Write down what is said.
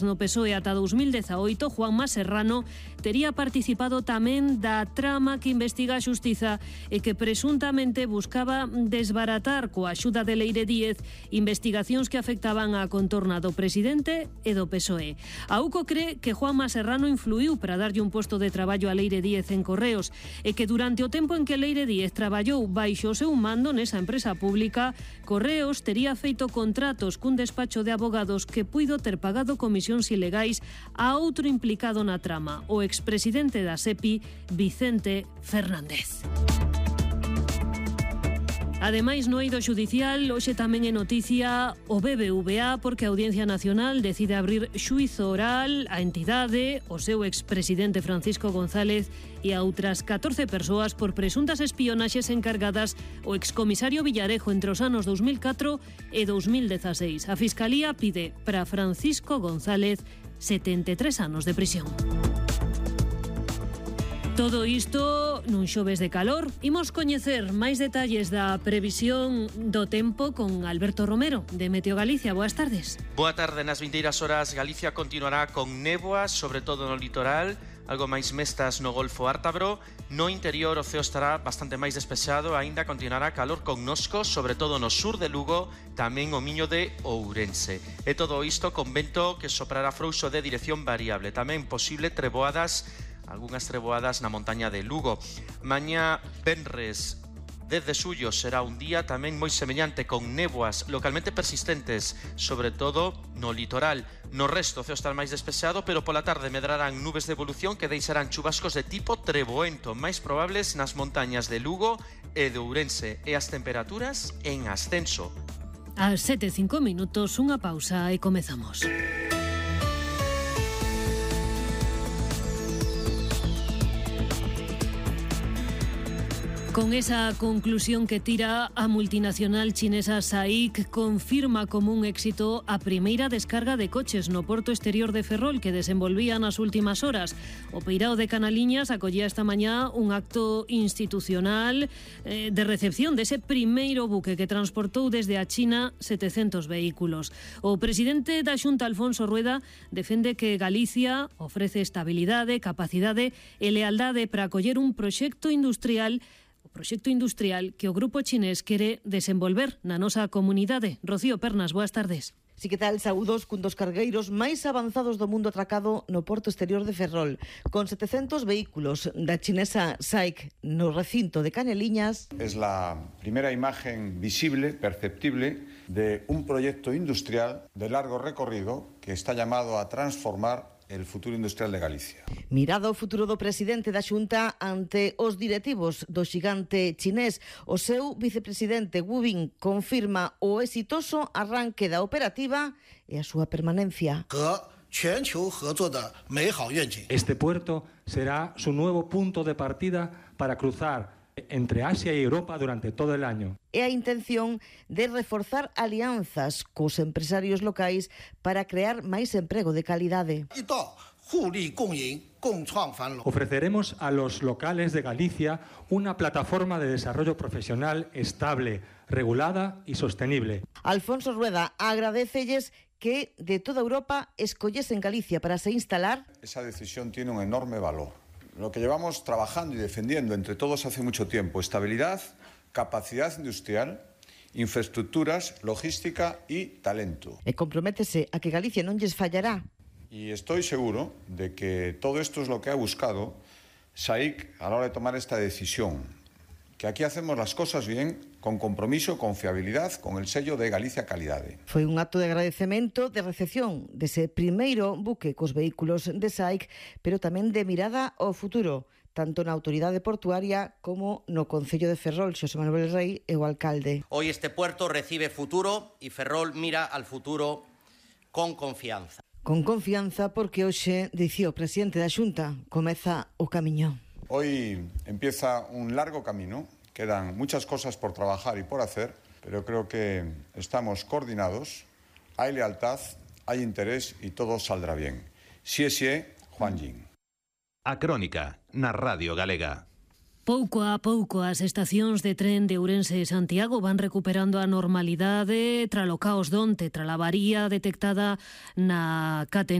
No PSOE ata 2018, Juanma Serrano tería participado tamén da trama que investiga a Xustiza e que presuntamente buscaba desbaratar coa axuda de Leire Díez investigacións que afectaban a contorna do presidente e do PSOE. A UCO cree que Juanma Serrano influiu para darlle un posto de traballo a Leire Díez en Correos e que durante o tempo en que Leire Díez traballou baixo o seu mando nesa empresa pública, Correos tería feito contratos cun despacho de abogados que puido ter pagado comisións ilegais a outro implicado na trama, o expresidente da SEPI, Vicente Fernández. Ademais, no eido xudicial, hoxe tamén é noticia o BBVA porque a Audiencia Nacional decide abrir xuízo oral á entidade, o seu expresidente Francisco González e a outras 14 persoas por presuntas espionaxes encargadas o excomisario Villarejo entre os anos 2004 e 2016. A Fiscalía pide para Francisco González 73 anos de prisión. Todo isto nun xoves de calor. Imos coñecer máis detalles da previsión do tempo con Alberto Romero, de Meteo Galicia. Boas tardes. Boa tarde. Nas vindeiras horas Galicia continuará con néboas, sobre todo no litoral, algo máis mestas no Golfo Ártabro. No interior o ceo estará bastante máis despexado, aínda continuará calor connosco, sobre todo no sur de Lugo, tamén o Miño de Ourense. E todo isto con vento que soprará frouxo de dirección variable. Tamén posible treboadas, algunhas treboadas na montaña de Lugo. Mañá venres 10 de xullo será un día tamén moi semellante, con néboas localmente persistentes, sobre todo no litoral. No resto o ceo estará máis despexado, pero pola tarde medrarán nubes de evolución que deixarán chubascos de tipo treboento, máis probables nas montañas de Lugo e de Ourense, e as temperaturas en ascenso. Ás 7:05, unha pausa e comezamos. Con esa conclusión que tira a multinacional chinesa SAIC, confirma como un éxito a primeira descarga de coches no porto exterior de Ferrol que desenvolvía nas últimas horas. O Peirao de Canaliñas acollía esta mañá un acto institucional de recepción dese primeiro buque que transportou desde a China 700 vehículos. O presidente da Xunta, Alfonso Rueda, defende que Galicia ofrece estabilidade, capacidade e lealdade para acoller un proxecto industrial que o grupo chinés quere desenvolver na nosa comunidade. Rocío Pernas, boas tardes. Si que tal, saúdos cun dos cargueiros máis avanzados do mundo atracado no porto exterior de Ferrol, con 700 vehículos da chinesa SAIC no recinto de Caneliñas. Es la primera imagen visible, perceptible, de un proyecto industrial de largo recorrido que está llamado a transformar el futuro industrial de Galicia. Mirado ao futuro do presidente da Xunta ante os directivos do xigante chinés, o seu vicepresidente Wu Bin confirma o exitoso arranque da operativa e a súa permanencia. Este puerto será su nuevo punto de partida para cruzar entre Asia y Europa durante todo el año. E a intención de reforzar alianzas cos empresarios locais para crear máis emprego de calidade. Ofreceremos a los locales de Galicia una plataforma de desarrollo profesional estable, regulada y sostenible. Alfonso Rueda agradecelles que de toda Europa escollesen Galicia para se instalar. Esa decisión tiene un enorme valor. Lo que llevamos trabajando y defendiendo entre todos hace mucho tiempo: estabilidad, capacidad industrial, infraestructuras, logística y talento. E comprométese a que Galicia non lles fallará. Y estoy seguro de que todo esto es lo que ha buscado SAIC a la hora de tomar esta decisión. Que aquí hacemos las cosas bien, con compromiso, con fiabilidad, con el sello de Galicia Calidade. Foi un acto de agradecemento de recepción dese primeiro buque cos vehículos de SAIC, pero tamén de mirada ao futuro, tanto na autoridade portuaria como no Concello de Ferrol. Xosé Manuel Rey é o alcalde. Hoy este puerto recibe futuro y Ferrol mira al futuro con confianza. Con confianza porque hoxe, dicía o presidente da Xunta, comeza o camiño. Hoy empieza un largo camino, quedan muchas cosas por trabajar y por hacer, pero creo que estamos coordinados, hay lealtad, hay interés y todo saldrá bien. Xie, Juan Jin. A Crónica, na Radio Galega. Pouco a pouco as estacións de tren de Ourense e Santiago van recuperando a normalidade tralo caos donte, trala avaría detectada na catená